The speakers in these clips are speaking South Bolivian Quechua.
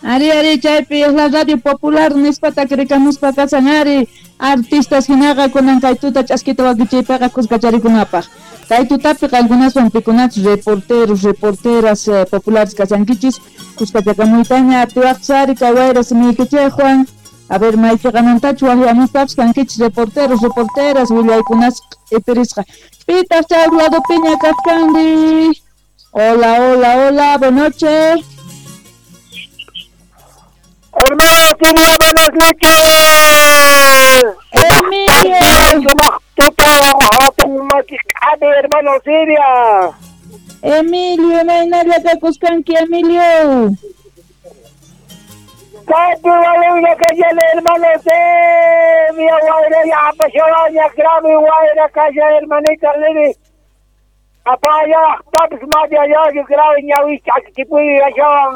Ari, ari, chaypi es la radio popular nispata krikamuspa kasan ari artistas hinaqa kunan kay tuta ch'askita wakichiypiqa kuskacharikunapaq. Kay tutapi qankunaswan pikunachus reporteros, reporteras populares kasankichis kuskachakamuytaña atiwaqchis ari kay wayra simiykichikwan. A ver, maychiqamantachu waqyamuspapis kankichis reporteros, reporteras willaykunas q'ipirisqa. Pitaq chay ladopiña kachkanri? Hola, hola, hola, buenas noches. Hermano, buenas noches. Emilio. Hermano Silvia. Emilio, imaynalla kakuskanki, Emilio. Kaypi waluña kallani, hermano Silvia, wayralla apashawaña grave wayra kalla, hermanita Lili. Apaya, papis maya grave ñawi ch'akichipuy ashawan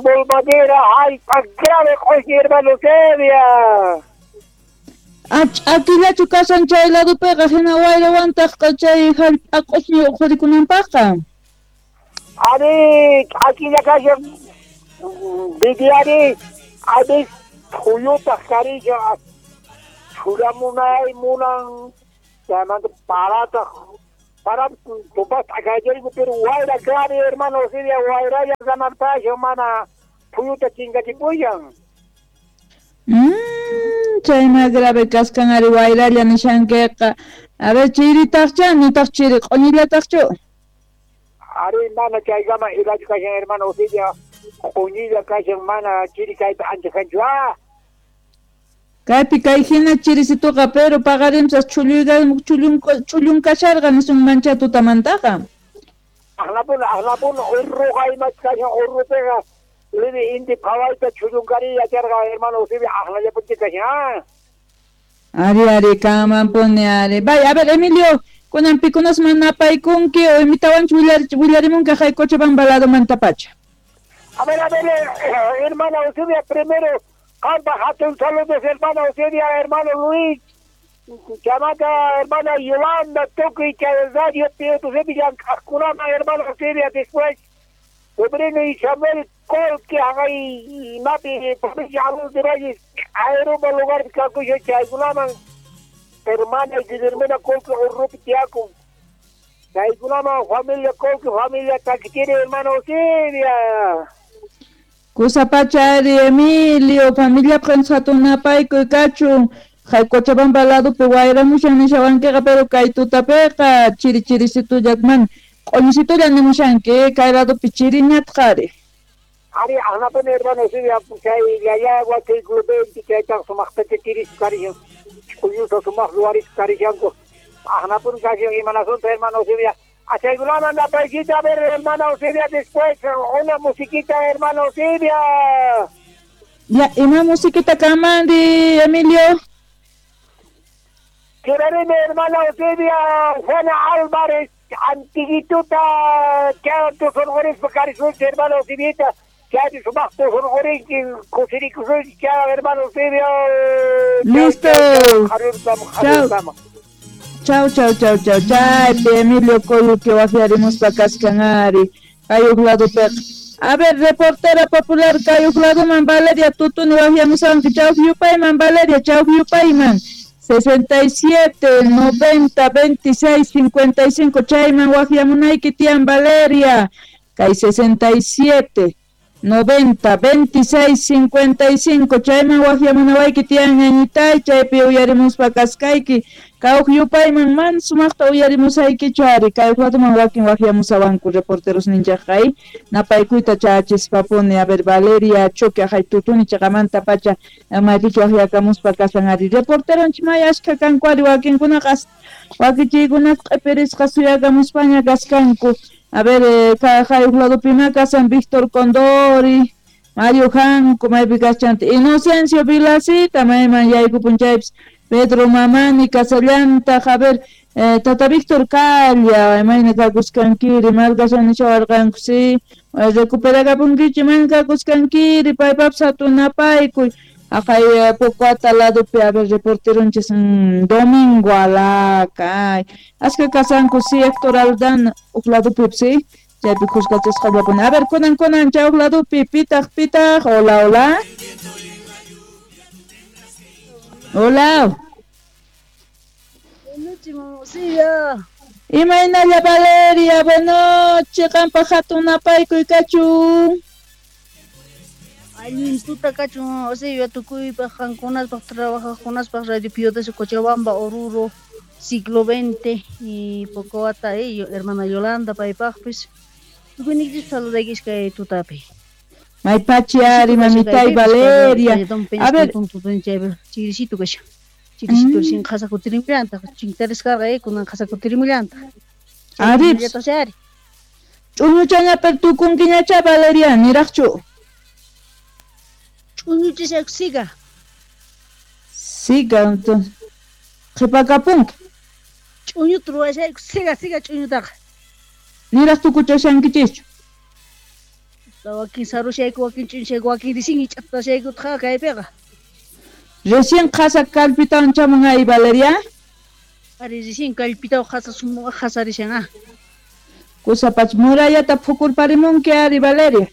bulmadera jallp'a grave q'ushñi, hermano Silvia. Ch'akillachu kasan chay ladopiqa hina wayrawantaq chay jallp'a q'ushñi uqhurikunanpaqqa. Ari, ch'akilla kashan vidiari avis phuyutaq karishan churamunay munan chaymanta parataq para tupas t'akaychariku pero wayra grave hermano Silvia wayralla samarpashan mana phuyuta chinkachipuyan. Chayma grave kaskan ari wayralla nishankiqa. A ver, chiritaqcha nitaq chiri q'uñillataqchu. Ari mana chaykama ilachu kashan hermano Silvia q'uñilla kashan mana chiri kaypi ancha kanchu. Kaypi kay hina chirisituqa pero paqarimsas chullun kasharqa nisunmancha tutamantaqa. Aqlapuna urruqa imach kashan urrupiqa lini inti phawayta chullunkari yacharqa hermano Silvia aqlallapunchik kashan. Ari, ari, kamanpuni ari. Bay, a ver, Emilio, kunan pikunasman napaykunki o imitawanchu willarimunki hay Cochabamba ladomantapacha. A ver, hermana Eusebia, primero, Campa, hatun saludos, hermana Eusebia, hermano Luis, chamata, hermana Yolanda, Toki, Radio, Eusebia, Ascurama, hermana Eusebia, después, sobrino Isabel Colque, Hagay, Mapi, provincia Arroz de Valles, Aeroba, lugar, Cacuyo, Chaygulaman, hermana Guillermina Colque, Urrupi, Tiaco, Chaygulaman, familia Colque, familia Taquitiri, hermana Eusebia. Kusapachari, Emilio, familia prensatunapaykuy kachun, hay Cochabamba ladopi wayramushan nishawankiqa pero kay tutapiqa chiri chirisitullakman q'uñisitulla nimushanki kay ladopi chiriñataq ari. Ari, aqnapuni hermano Silvia, chay yayagua chay clubenti chaytaq sumaqtacha chiris karishan, ch'uyuta sumaq luwaris karishanku, aqnapuni kashan imanasunta hermano Silvia. Asegurame la paisita, a ver, hermana Silvia, después una musiquita, hermano Silvia. Ya, ¿y una musiquita kamandi, Emilio? Quiero hermana Silvia, Juana Álvarez, antiguituta, que tus honores, hermano Silvita, que hay su más tus honores, hermano Silvia. Listo. Chao. Chau, chau, chau, chau, chau, Emilio Coluque, wajiarimuspa kaskan ari, kay ladopiqa. A ver, reportera popular kay ladoman Valeria Tutuni wajiamusanki, chau yupayman Valeria, chau yupayman. 67 90 26 55 chayman wajiamunayki tiyan Valeria. Kay 67 90 26 55 chayman wajiamunawayki tiyan ñañitay, chaypi uyarimuspa kaskayki. Kawq yupayman man sumaqta uyarimusaykichu ari kay ladoman wakin wajiamusawanku reporteros ninchaqqa napaykuyta chachispapuni. A ver, Valeria Choque ajay tutuni chaqamanta pacha maypichu wajiakamuspa kasan ari reporteronchik may ashkha kanku ari wakinkunaqa wakichiykunaqa q'ipirisqa suyakamuspaña kaskanku. A ver, kay ladopima kasan Víctor Condori, Mario Janco, maypi kaschanta Inocencio Vilacita, mayman yaykupun chaypis Pedro Mamani, Casallanta, a ver, Tata Víctor Calla, mayna kakuskankiri, markashan nishawarqanku, sí, recuperakapunkichik, mayna kakuskankiri, paypapis hatunapaykuy. Ajay Pocoata ladopi, a ver, reporteronchis Domingo Alaca, ay, ashka kasanku, sí, Héctor Aldán, uq ladopi, sí, Chaypi khuskachasqallapuni. A ver, kunan kunan chay huk ladopi pitaq pitaq. Hola, hola. Hola. Imaynalla Valeria, buenoche, qanpaq hatun napaykuy kachun. Allin tuta kachun, Eusebia, tukuypaq qankunaspaq trabajaqkunaspaq Radio Pío X Cochabamba, Oruro, siglo XX y Pocowata, hermana Yolanda paypaqpis. Tukuyniykichispi saludaykichis kay tutapi. Maypachi ari, mamitay Valeria. A ver, chirisito kashan. Chirisito recién qhasa kutirimullantaj, chintarisqaqa kunan qhasa kutirimullantaj. Ari. Ch'uñuchaña pero tukunkiñacha Valeria, niraqchu. Ch'uñuchashayku siga. Siga, entonces. Qhipakapunki. Ch'uñuta ruwashayku, siga, siga ch'uñutaqa. Niraq tukuchashankichischu. Wakin sarushayku, wakin ch'uñushayku, wakin recién ich'atashaykutaq kaypiqa. Recién qhasa kallpitawan chamun ay Valeria. Ari recién kallpitawan qhasa sumaq qhasarishan ah. Kusapach murallata phukurparimunki ari Valeria.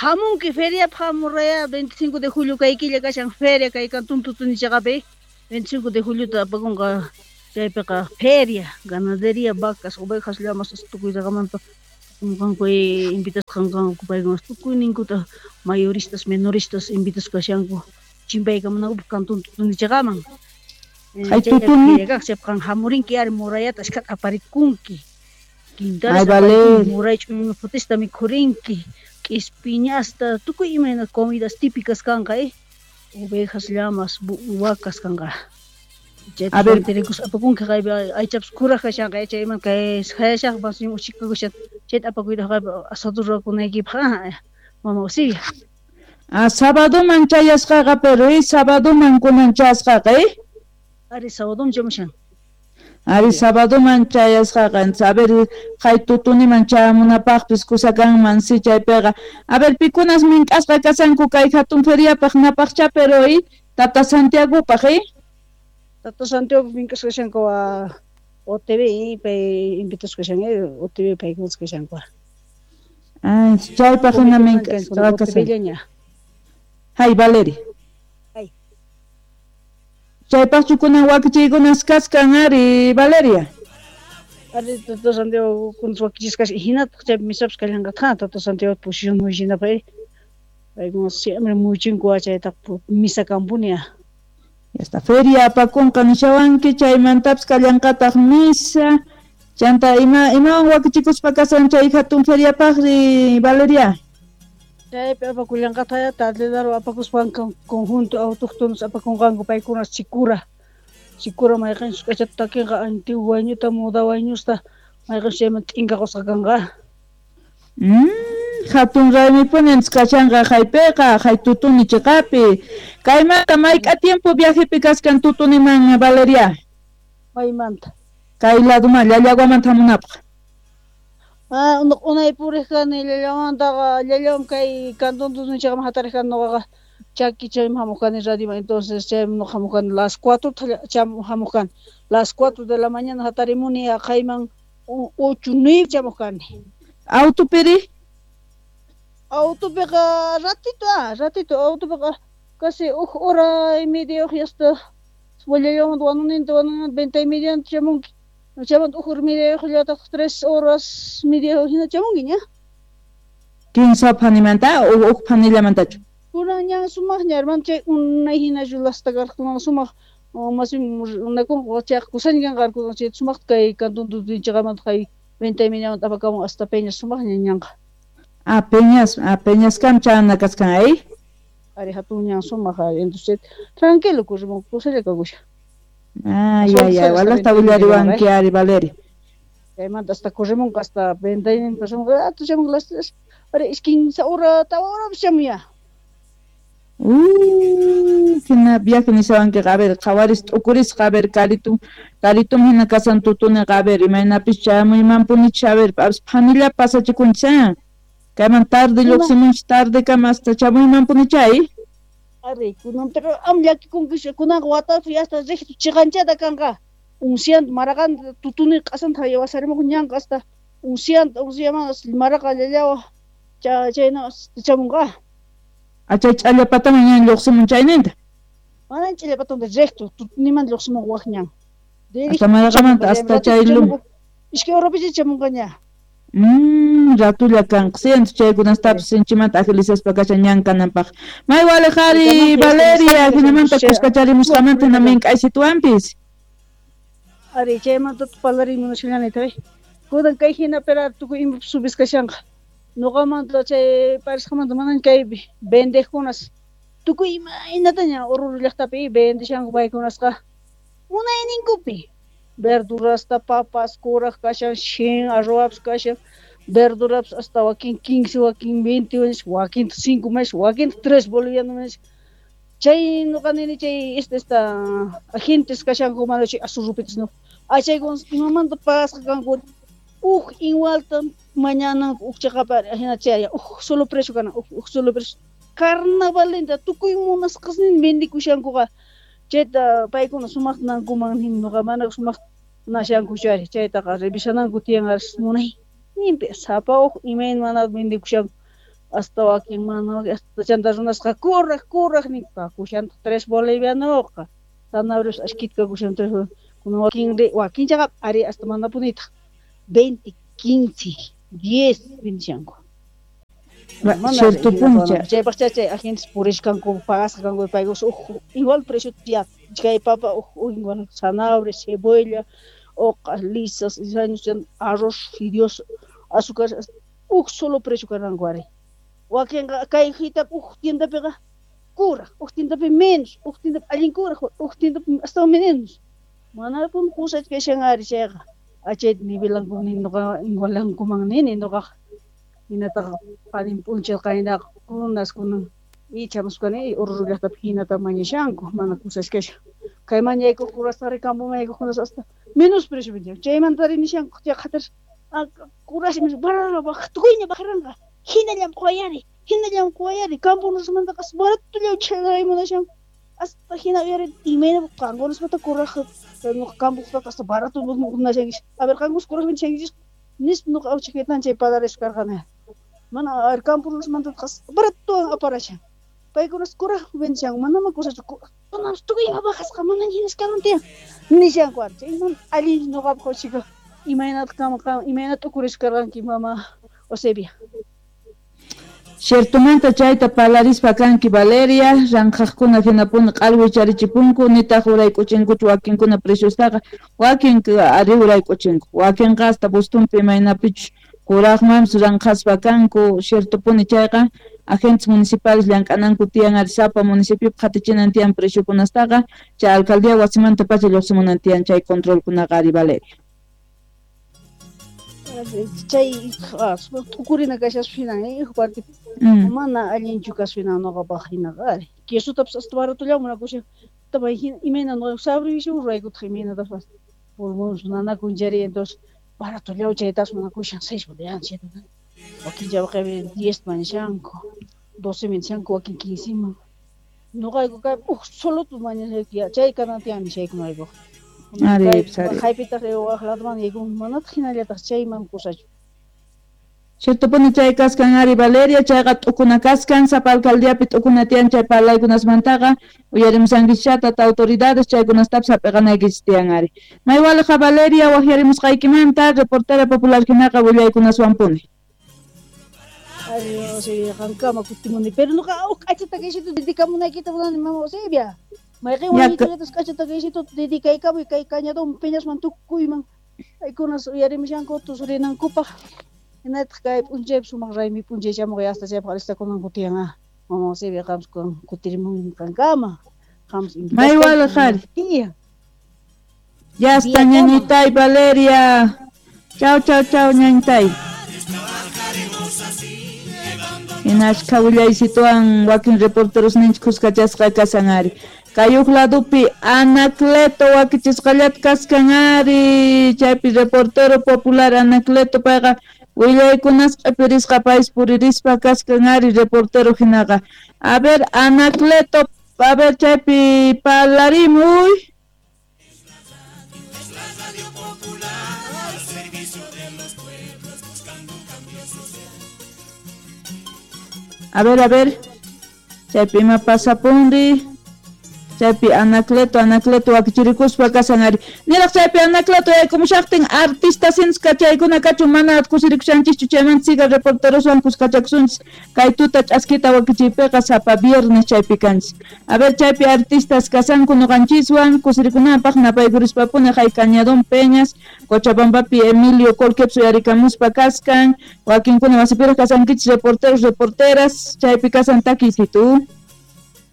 Hamunki feriapaq muralla 25 de julio kay killa kashan feria kay cantón Tutuni chaqapi 25 de juliota apakunqa chaypiqa feria, ganadería, vacas, ovejas, llamas tukuytaqamanta qanku invitasqa kanku paykuna tukuyninkuta mayoristas, menoristas invitasqa kashanku chimpaykamunankupaq cantón Tutuni chaqaman. Hay tutuni. Chayqa hamurinki ari murallata ashkhata aparikunki. Ay, Valeria. Muray ch'uñu phutista mikhurinki. K'ispiñasta, tukuy imayna comidas típicas kanqa, ovejas, llamas, vacas kanqa. A ver, apakunki kaypi aychapas kuraj kashanqa, chayman kay hayashaqpas uchikakushan chayta apakuyta kaypi asado ruwakunaykipaq, mama Eusebia. Ah, sabadoman chayasqaqa, pero sabadoman kunan chayasqaqa, Ari sabadoman chamushan. Ari sabadoman chayasqaqa, a ver, kay tutuniman chayamunapaqpis kusa kanman si chaypiqa. A ver, pikunas mink'asqa kashanku kay hatun feriapaq napaqcha, pero Tata Santiagopaq, Tata Santiago mink'asqa kashanku OTV pay invitasqa kashan, OTV paykunas kashanku. Ay, chaypaq hina mink'asqa kashanku. Hay, Valeria. Chaypaqchu kunan wakichiykunas kaskan ari Valeria. Ari Tata Santiago kunas wakichisqa kashan, hinataq chaypi misapas kallanqataq Tata Santiago posición muychinapaq, paykuna siempre muychinku chaytaq misa kanpuni. Ya está, feria apakunqa nishawanki, chaymantapas kallanqataq misa. Chanta imawan wakichikuspa kasan chay hatun feriapaqri Valeria. Chaypi apakullanqataq tardedaro apakuspanku conjunto autóctonos apakunqanku paykuna sikura. Sikura mayqinchus k'achata takinqa antiguo wayñuta, moda wayñusta mayqinchus chayman t'inka qusqa kanqa. Hatun raymipuni kashanqa haypiqa, hay tutuni chiqapi. Kaymanta mayk'a tiempo viajepi kaskan tutuniman Valeria? Maymanta. Kay laduman Llallaguamanta hamunapaq. Ah, unay puriq kani Llallaguamantaqa, Llallaguam kay cantón Tutuni chaqaman hatariq kani nuqaqa chaki chayman hamuq kani radioman, entonces chayman nuqa hamuq kani las 4 hamuq kani. Las 4 de la mañana hatarimuni aqhayman 8, 9 chamuq kani. Autopiri? Autopiqa ratito, ratito autopiqa casi huk hora y media hasta Llallaguamanta wanuninta venta y media chamunki. Chaymanta huk hora y media llataq 3 horas media hina chamunki ña. Kinsa phanimanta o huk phanillamantachu? Kunan ñan sumaqña hermano, chay unay hinachu lasta karqa kunan sumaq más unakunqa chayqa kusaña kanqa chay sumaqta kay cantón Tutuni chaqamanta kay venta y mediamanta apakamun hasta Peñas sumaqña ñanqa. Ah, Peñas, Peñaskam chana kaskan ahí. Ari hatun ñan sumaq, entonces tranquilo corrimos, kusalla kakusha. Ah, ya, ya, walasta willariwanki ari Valeria. Chaymanta hasta corrimunqa hasta venta y media pasamunqa, chamunqa las 3, ari 15 hora, tawa horapis chamuya. Hina viaje nishawankiqa, a ver, qhawaris t'ukurisqa, a ver, karitum, karitum hina kasan tutuniqa, a ver, imaynapis chayamuymanpunichis, a ver, phanilla pasachikunchis, kayman tarde lluqsimunchis, tardekama hasta chamuymanpunicha, Ari, kunan pero am llakikunkichu, kunanqa watapi hasta riqtu chiqanchata kanqa. Unsianta maraqanta tutuni q'asanta wasarimuq ñanqa hasta Uncianta, unciaman maraqa llallawa chayna chamunqa. Chay ch'allapataman ñan lluqsimun chayninta. Manan ch'allapatanta recto, niman lluqsimun waq ñan. Hasta Maraqamanta hasta chay lum. Iskay horapicha chamunqa ña. Ratulla kanqa siento chaykunastapis sinchimanta agilizaspa kashan ñan kananpaq. May walejari Valeria, hinamanta kuskacharimusqamanta mink'aysituwanpis. Ari chaymanta parlarimunashallani tay. Kunan kay hina pero tukuy imapas subis kashanqa. Noqamanta chay parisqamanta manan kaypi vendejkunas tukuy imaynataña Oruro llaqtapi vendeshanku paykunasqa munayninkupi. Verdurasta, papas, kuraq kashan, shin, arroz kashan, verduras hasta wakin 15, wakin 20, wakin 5 meses, wakin 3 bolivianos meses. Chay noqa nini chay esta agentes kashanku mana chay asurrupitas no. Achaykunas imamanta pagasqa kanku uj igualta mañana uj chaqapa hina chay uj solo precio kana uj solo precio. Carnavalinta tukuy munasqasnin vendikushankuqa. Chayta paykuna sumaqnankuman nin noqa mana sumaq nashanku chari chaytaqa revisananku tiyan munay ninpi sapa uj imayna mana vendikushanku hasta wakin mana hasta chanta runasqa kuraq nin kakushantaq 3 bolivianoqa zanahorias ashkita kakushan 3 kunan wakin chaqa ari hasta manapunitaq 20, 15, 10 vendishanku. Cierto punto. Chaypaq chay agentes purishkanku pagasqa kanku paykus uj igual precio ya chay papa uj igual zanahoria, cebolla, hojas lisas, arroz, fideos, azúcar, uj solo precio kananku ari. Wakinqa kay hita uj tiendapiqa kuraq, uj tiendapi menos, uj tiendapi allin kuraq, uj tiendapi hasta menos. Manapun kusach kashan ari chayqa. Achayta nivelanku nin noqa igualankuman nini noqaqa. Hinataqa qanin p'unchay qaynaqa kunas kunan ichamusqani Oruro llaqtapi hinata mañashanku mana kusachkashan. Kay mañaykuq kurasqa campo mañaykuqkunas hasta menos precio vendian. Chaymanta rinishanku chay qhatar kurash barara tukuyña bajaranqa. Hinallam quwayari campo nusmantaqa baratolla chaymunashanku. Hasta hina uyari imayna qankunasmanta kuraq noqa campoqtaqa hasta barato nashankichis. A ver qankunas kuraq vendishankichis nispa noqa awchikaytan chay palarispa karqani. Mana a ver campo nusmanta barato aparashan. Paykunas kuraq vendishanku manama kusachu kunas tukuy ima bajasqa mana hinas kanan tiyan nishanku ari. Chayman allin noqapaq awchika imaynata qam imaynata t'ukurispa karqanki mama Eusebia. Ciertomanta chayta parlarispa kanki Valeria, ranqhaqkuna hinapuni q'alwicharichipunku nitaq urayk'uchinkuchu wakinkuna preciostaqa, wakin ari urayk'uchinku, wakinqa hasta bustunpi imaynapichus kuraqmanpis ranqhaspa kanku. Ciertopuni chayqa agentes municipales llank'ananku tiyan ari sapa municipiopi qhatichinan tiyan preciokunastaqa, chay alcaldía wasimanta pacha lluqsimunan tiyan chay controlkunaqa ari Valeria. Chay t'ukurina kashaspa hinan parte mana allinchu kaspa hinan noqapaq hinaqa ari. Quesotapas hasta baratollawan munakushan tabay hina imayna noqa sabriwishan ruraykutaq imaynatapas pulmones nanakun chari entonces baratollawan chaytas munakushan 6 bolivianos 7 wakin chayqa 10 mañashanku 12 mañashanku wakin 15 man noqayku kay uj soloto mañashayku chay kanan tiyan nishayku noqaykuqa. Ari. Haypitaq waq ladoman yaykun manataq hinallataq chayman kusachu. Ciertopuni chay kaskan ari Valeria, chayqa t'ukuna kaskan sapa alcaldiapi t'ukuna tiyan chay parlaykunasmantaqa uyarimusankichis tata autoridades chaykunastapis hap'iqanaykichis tiyan ari. May waliqa Valeria waqyarimusqaykimanta reportera popular hinaqa willaykunaswanpuni. Ari Eusebia qankama kutimuni pero noqa uj k'achata kaysitu dedikamunaykita munani mama Eusebia. Mayqin wayitallatas k'achata kaysitu dedikaykamuy kay cañadón peñasman tukuyman paykunas uyarimushanku riнаnkupaq. Hinataq kay p'unchaypi sumaq raymi p'unchay chamuq hasta chaypaq alistakunanku tiyan mama Eusebia qampas kutirimun qankama qampas May waliq ari. Ya está ñañitay Valeria. Chau chau chau ñañitay. Hinashka willaysituwan wakin reporteros ninchik kuskachasqa kashan ari. Kay uj ladopi Anacleto wakichisqallata kaskan ari. Chaypi reportero popular Anacleto payqa willaykunas q'ipirisqa payis puririspa kaskan ari reportero hinaqa. A ver Anacleto, a ver chaypi parlarimuy. A ver, a ver. Chaypi ima pasapunri. Chaypi Anacleto, Anacleto wakichirikuspa kasan ari. Niraq chaypi Anacleto yaykumushaqtin artista sinska chaykuna kachun mana kusirikushanchischu chaymanta siga reporteroswan kuskachakusunchis kay tuta ch'askita wakichiypiqa sapa viernes chaypi kanchis. A ver, chaypi artistas kasanku noqanchiswan kusirikunapaq napaykurispapunin hay Cañadón Peñas, Cochabambapi Emilio Colquepso yarikamuspa kaskan, wakinkuna wasipiraq kasankichis reporteros, reporteras, chaypi kasan takiysitu.